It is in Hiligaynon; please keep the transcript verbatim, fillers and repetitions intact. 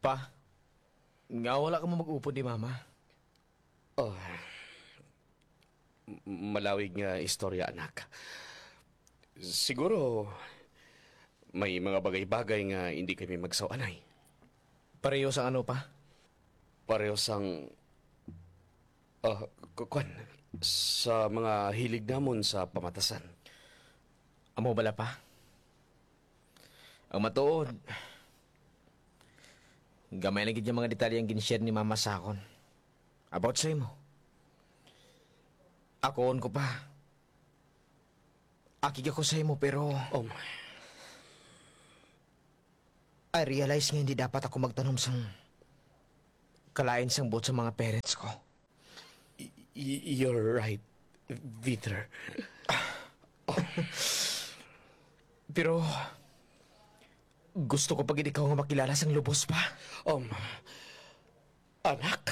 Pa, nga wala ka mo mag-upod ni Mama? Oh, m- malawig nga istorya, anak. Siguro, may mga bagay-bagay nga hindi kami magsawanay. Pareho sang ano, Pa? Pareho sang, ah, ku- kwan, sa mga hilig namon sa pamatasan. Amo bala, Pa? Ang matuod, gamay lang gid nga mga detalye ang gin-share ni Mama sa akon about sa imo. Akoon ko, Pa. Akig ako sa imo, pero Um, I realize nga hindi dapat ako magtanom sang kalain sang buot sa mga parents ko. Y- y- you're right, Peter. Pero gusto ko pa gid ikaw nga makilala sang lubos, Pa. Um, anak,